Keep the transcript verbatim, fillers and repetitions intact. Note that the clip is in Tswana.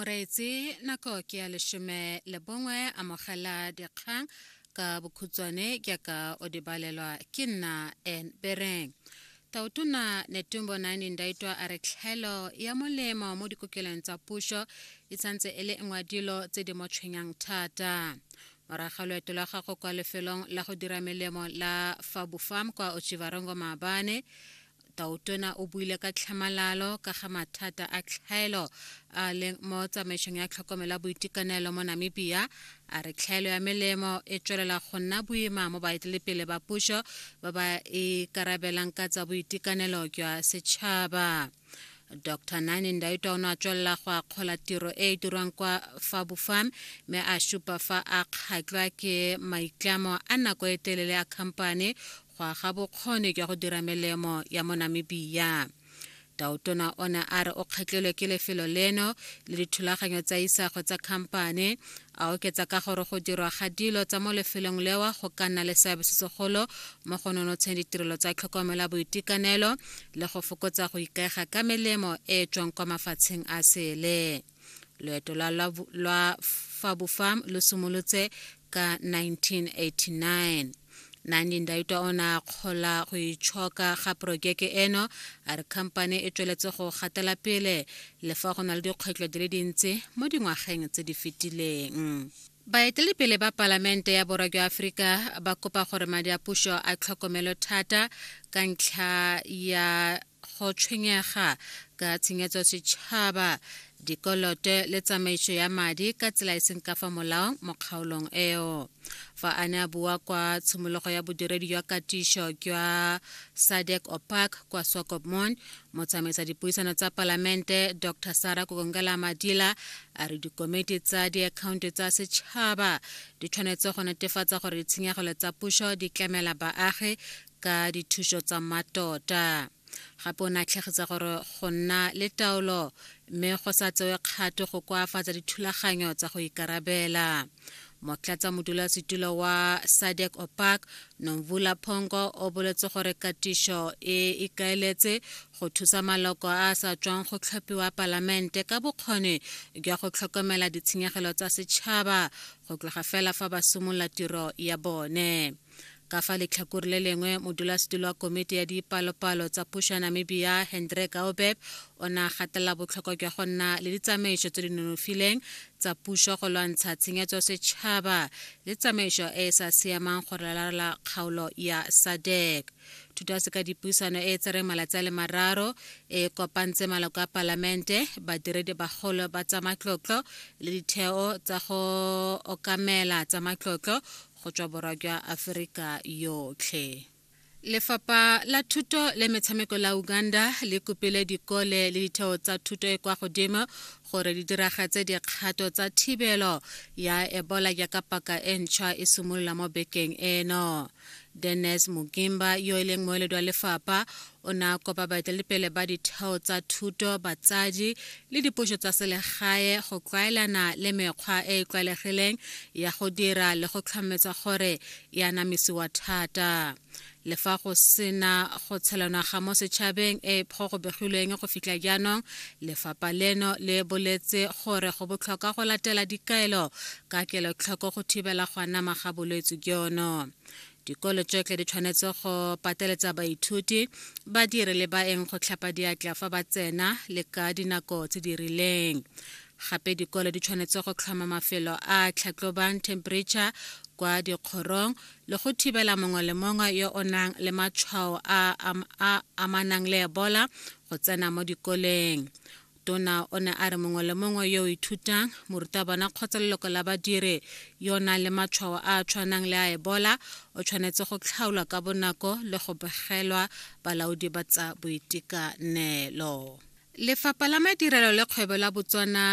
Moreetsi, nako ke ya lesome le bongwe. Amogela dikgang ka bokhutshwane jaaka o di balelwa ke nna N Bereng. Tautona Netumbo Nandi-Ndaitwah a re tlhaelo ya molemo mo dikokelong tsa puso e santse e le nngwe ya dilo tse di mo tshwenyang thata. Morago ga loeto lwa gagwe kwa lefelong la go dira melemo la Fabufarm kwa Otjiwarongo maabane, Tautona o buile ka tlhamalalo ka ga mathata a tlhaelo a leng mo tsamaisong ya tlhokomelo ya boitekanelo mo Namibia. A re tlhaelo ya melemo e tswelela go nna boima mo baeteledipele ba puso ba ba ikarabelang ka tsa boitekanelo jwa setšhaba. Doctor Nandi-Ndaitwah o ne a tswelela go akgola tiro e e dirwang kwa Fabufarm, mme a supa fa a kgatlhwa ke maitlamo a nako e telele a khamphane go aga bokgoni jwa go dira melemo ya mo Namibia. Tautona o ne a re o kgatlhilwe ke lefelo leno le dithulaganyo tsa isago tsa khamphane, a oketsa ka gore go dirwa ga dilo tsa mo lefelong leo go ka nna le seabe se segolo mo go nonotsheng ditirelo tsa tlhokomelo ya boitekanelo le go fokotsa go ikaega ka melemo e e tswang kwa mafatsheng a sele. Loeto lwa lwa Fabufarm lo simolotse ka nineteen eighty-nine. Nandi-Ndaitwah o ne a akgola go itshoka ga porojeke eno, a re khamphane e tsweletse go gatela pele le fa go na le dikgwetlho di le dintsi mo dingwageng tse di fetileng. Baeteledipele ba palamente ya Borwa jwa Aforika ba kopa gore madi a puso a tlhokomelwe thata ka ntlha ya go tshwenyega ka tshenyetso setšhaba, dikoloto le tsamaiso ya madi ka tsela e seng ka fa molaong mo kgaolong eo. Fa a ne a bua kwa tshimologo ya bodiredi jwa katiso jwa SADC OPAC kwa Swakopmund, motsamaisa dipuisano tsa palamente Doctor Saara Kuugongelwa-Amadhila a re dikomiti tsa diakhaonto tsa setšhaba di tshwanetse go netefatsa gore ditshenyegelo tsa puso di tlamela baagi ka dithuso tsa mmatota. Gape o ne a tlhagisa gore go nna le taolo mme go sa tsewe kgato go koafatsa dithulaganyo tsa go ikarabela. Motlatsa modulasetilo wa SADC OPAC, Nomvula Pongo, o boletse gore katiso e ikaeletse go thusa maloko a a sa tswang go tlhophiwa palamente ka bokgoni jwa go tlhokomela ditshenyegelo tsa setšhaba go tloga fela fa ba simolola tiro ya bone. Ka fa letlhakore le lengwe, modulasetilo wa komiti ya dipalopalo tsa puso ya Namibia, Hendrik Gaobeb, o ne a gatelela botlhokwa jwa go nna le ditsamaiso tse di nonofileng tsa puso go lwantsha tshenyetso setšhaba le tsamaiso e e sa siamang go ralala kgaolo ya SADC. Thuto ya seka dipuisano e e tsereng malatsi a le mararo e kopantse maloko a palamente, badiredi bagolo ba tsa matlotlo le ditheo tsa go okamela tsa matlotlo go tswa Borwa jwa Aforika yotlhe. Lefapha la Thuto le Metshameko la Uganda le kopile dikole le ditheo tsa thuto e kwa godimo gore di diragatse dikgato tsa thibelo ya Ebola jaaka paka e ntšhwa e simolola mo bekeng eno. Dennis Mugimba, yo e leng moeledi wa lefapha, o ne a kopa baeteledipele ba ditheo tsa thuto, batsadi le dipuso tsa selegae go tlwaelana le mekgwa e e tlwaelegileng ya go dira le go tlhometsa gore e anamisiwa thata. Le fa go sena go tshelanwa ga mo setšhabeng e go go begilweng go fitlha jaanong, lefapha leno le boletse gore go botlhokwa go latela dikaelo ka kelotlhoko go thibela go anama ga bolwetse jono. Dikolo tsotlhe di tshwanetse go pateletsa baithuti, badiri le baeng go tlhapa diatla fa ba tsena le ka dinako tse di rileng. Gape dikolo di tshwanetse go tlhoma mafelo a a tlhatlhobang temperature kwa dikgorong le go thibela mongwe le mongwe yo o nang le matshwao a a amanang le Ebola go tsena mo dikoleng. Tona o ne a re mongwe le mongwe yo o ithutang, morutabana kgotsa leloko la badiri yo o nang le matshwao a a tshwanang le a Ebola o tshwanetse go tlhaolwa ka bonako le go begelwa balaodi ba tsa boitekanelo. Lefapha la Madirelo le Kgwebo la Botswana